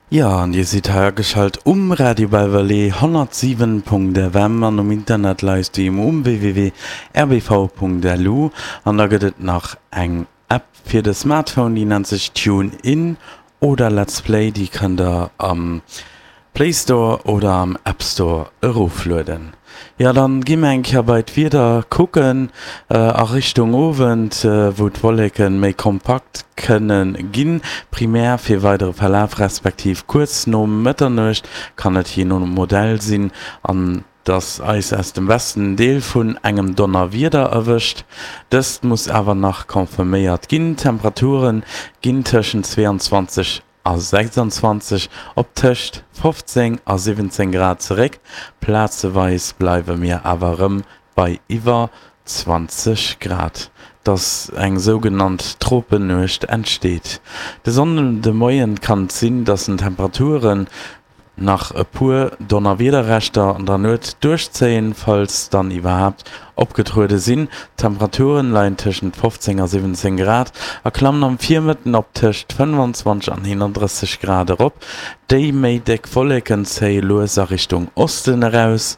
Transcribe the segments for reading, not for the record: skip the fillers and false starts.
Jo, an Dir sidd hei ageschalt um Radio Belval 107.fm an um Internet Livestream um www.rbv.lu. An da gëtt et nach eng App fir de Smartphone, déi nennt sech TuneIn oder Let's Play, déi kënnt der am Play Store oder am App Store eroflueden. Jo, dann gi mer eng Kéier bei d'Wieder kucken a Richtung Owend, wou d'Wolleke méi kompakt kënne ginn. Primär fir weidere Verlaf respektiv kuerz no Mëtternuecht kann et jee no Modell sinn, an dass eis aus dem Westen Deel vun engem Donnerwieder erwëscht. Dëst muss awer nach confirméiert ginn. D'Temperature ginn tëschent 22 a 26 op tëscht 15 a 17 Grad zeréck, plazeweis bleiwe mir awer erëm bei iwwer 20 Grad, dass eng sougenannt Tropennuecht entsteet. De Sonndemoien kann et sinn, dass den Temperaturen Nach e puer Donnerwiederreschter an der Nuet duerchzéien, falls dann iwwerhaapt opgetruede sinn. D'Temperaturen leien tëschent 15 a 17 Grad a klammen am Virmëtten op tëscht 25 an 31 Grad erop. Déi méi déck Wolleken zéie lues a Richtung Osten eraus.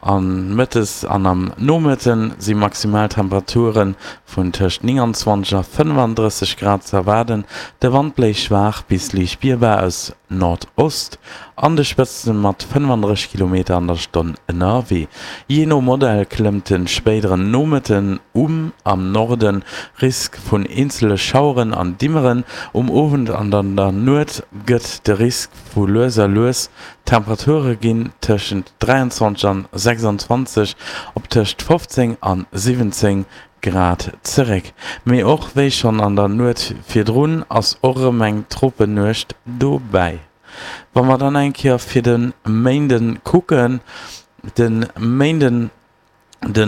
An mëttes an am Nomëtte si Maximaltemperature vun tëscht 29 a 35 Grad ze erwaarden. De Wand bléist schwaach bis liicht spierbar aus Nordost, an de Spëtzte mat 35 Kilometer an der Stonn ënnerwee. Jee no Modell klëmmt de spéideren Nomëtten um am Norde Risk vun eenzele Schaueren an Dimmeren. Um Owend an an der Nuet gëtt de Risk vu lues a lues D'Temperature ginn tëschent 23 an 26 op tëscht 15 an 17 Grad zeréck. Mee och wéi schonn an der Nuet virdrun ass och erëm eng Tropennuecht dobäi. Wa mer dann eng Kéier fir de Méinde kucken, de Méinden de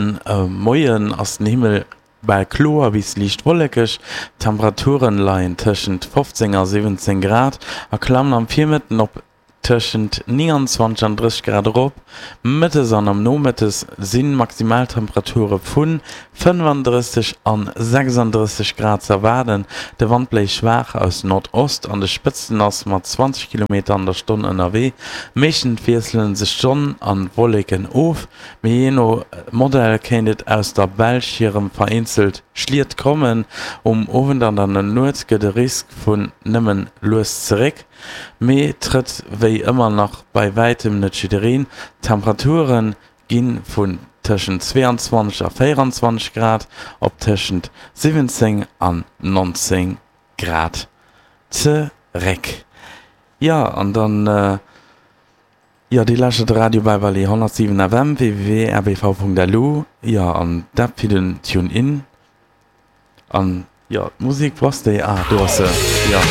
Moien ass den Himmel bal kloer bis liicht wollekeg, d'Temperaturen leien tëschent 15 a 17 Grad a klammen am Virmëtten op tëschent 29 an 30 Grad erop. Mëttes an am Nomëttes si Maximaltemperature vu 35 an 36 Grad ze erwaarden. De Wand bléist schwaach aus Nordost, an de Spëtzten ass mat 20 Kilometer an der Stonn ënnerwee. Meeschtens wiessele sech d'Sonn an d'Wolleken of. Mee jee no Modell kéint et aus der Belsch hirem vereenzelt Schliet kommen. Um Owend an an der Nuet gëtt e Risk vun nëmmen lues zeréck, mee trëtt wéi ëmmer nach bei wäitem net jiddereen. D'Temperature gi vun tëschent 22 a 24 Grad op tëschent 17 an 19 Grad zeréck. Jo, an dann. Jo, Dir lauschtert de Radio Bäiwally 107 FM, www.rbv.lu. Jo, an d'App fir den Tune-In. An jo, d'Musek, wou ass déi? Ah, do ass se, jo.